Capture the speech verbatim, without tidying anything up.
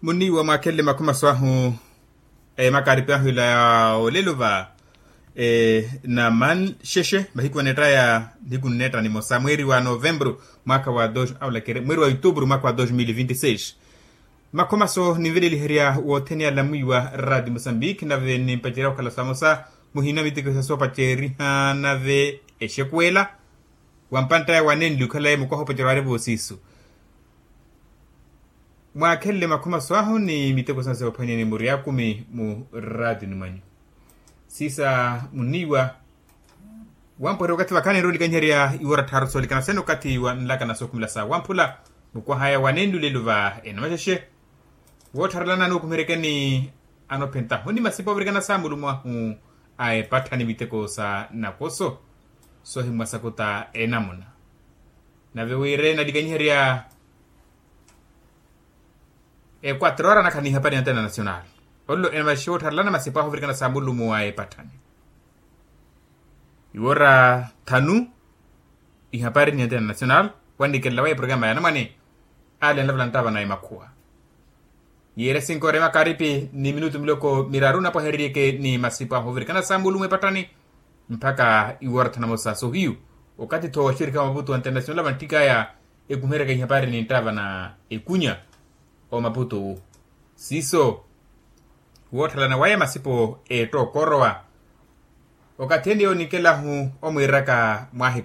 Muniiwa mwaakhenle makhumaso ahu. Makaaripi ahu ila ya olelo va namanxexe mahiku aneetta ya nihiku nneetta nimosa mweeri wa novembru mwaakha wa dos aulakere mweeri wa yutupuru mwaakha wa dos mil vinti seis. Makhumaso ninveleliherya wothene alamwiiwa raati musambiki nave nimpacerya okhala samosa muhina miteko sa soopaceriha nave exekuwela wa mpanttaya wanenli okhalaye mukwaha opacerya waari voosiisu. Mwaakhenle makhumaso ahu ni miteko sano soophwanyani muri akumi mu raatini mwanyu. Siisa muniiwa wamporya okathi vakhaani enrowa olikanyiherya iwora tthaaru soolikana sene okathi wa nlakana sookhumela sa wamphula mukwahaya wanenli olelo va enamaxexe. Woottharelana anookumeryekeni anoophentahu ni masipa ovirikana sa mulumo ahu a epatthani miteko sa nakoso soohimwa sakuta enamuna. Nave wira enalikanyiherya equatro ora anakhala n'ihapari ya international. Ollo enamaxexe woottharelana masipa ahu ovirikana sa mulumo a epatthani iwora thanu. Ihapari ni international wannikelelawa eprogramu ya anamwane ale anlavula nttava na emakhuwa. Yiire sinkoore makaaripi ni minutu miloko miraru napwahereryeke ni masipa ahuvirikana sa mulumo epatthani mpakha iwora thanu namosa sohiyu. Okathi tho wa xirika wa maputo wa international vanttikaya ekumeryaka ihapari ni nttava na ekunya omaputo wu siiso wootthalana waya masipo eetta okorowa. Okathi ene yoonikela-hu omwiiraka mwahi